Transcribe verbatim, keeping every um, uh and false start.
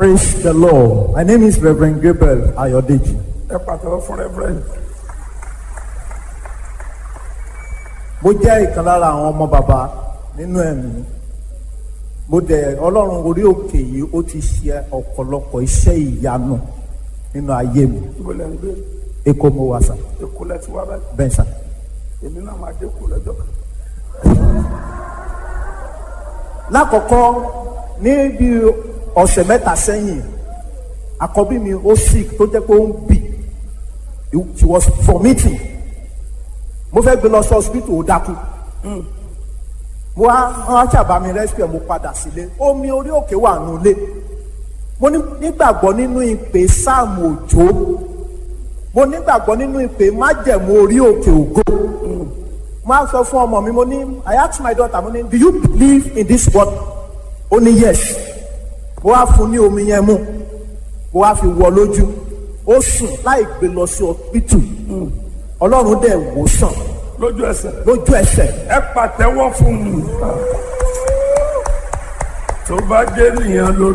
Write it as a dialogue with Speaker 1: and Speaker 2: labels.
Speaker 1: Praise the Lord. My name is Reverend Gabriel Ayodeji.
Speaker 2: Ẹ pàtẹ́wọ́ fún Reverend.
Speaker 1: Mo jẹ́ ìkan lára àwọn ọmọ bàbá nínú ẹ̀mí. Mo dẹ̀ Ọlọ́run orí òkè yìí, ó ti ṣe ọ̀pọ̀lọpọ̀ iṣẹ́ ìyanu nínú ayé mi.
Speaker 2: Ibo lẹ́ ń gbé?
Speaker 1: Èkó mo wà sà,
Speaker 2: Èkó lẹ ti wá báyìí?
Speaker 1: Bẹ́ẹ̀ sà.
Speaker 2: Èmi náà máa dé kó lọ́jọ́ kan.
Speaker 1: Lákọ̀ọ́kọ́, ní bí ọ̀sẹ̀ mẹ́ta sẹ́yìn, àkọ́bí mi ó sick tó jẹ́ pé ó ń bì. She was vomiting. Mo fẹ́ gbé lọ sí hospital, ó dákú. Mo wá, wọ́n á ṣàbá mi rescue ẹ̀, mo padà sílé. Omi orí òkè wà nulẹ̀. Mo ní nígbàgbọ́ nínú ìpè Sáàmù Òjó. Mo nígbàgbọ́ nínú ìpè májẹ̀mú orí òkè ògo. Mo á sọ fún ọmọ mi, mo ní, I asked my daughter, mo ní, "Do you believe in this word?" Ó ní yes. Mo wá fún ní omi yẹn mu. Mo wá fi wọ lójú. Ó sùn láì gbé lọ sí hospital. Ọlọ́run dẹ̀ wò sàn.
Speaker 2: Lójú ẹsẹ̀.
Speaker 1: Lójú ẹsẹ̀.
Speaker 2: Ẹ pàtẹ́wọ́ fún un. Tó bá dé nìyẹn ló.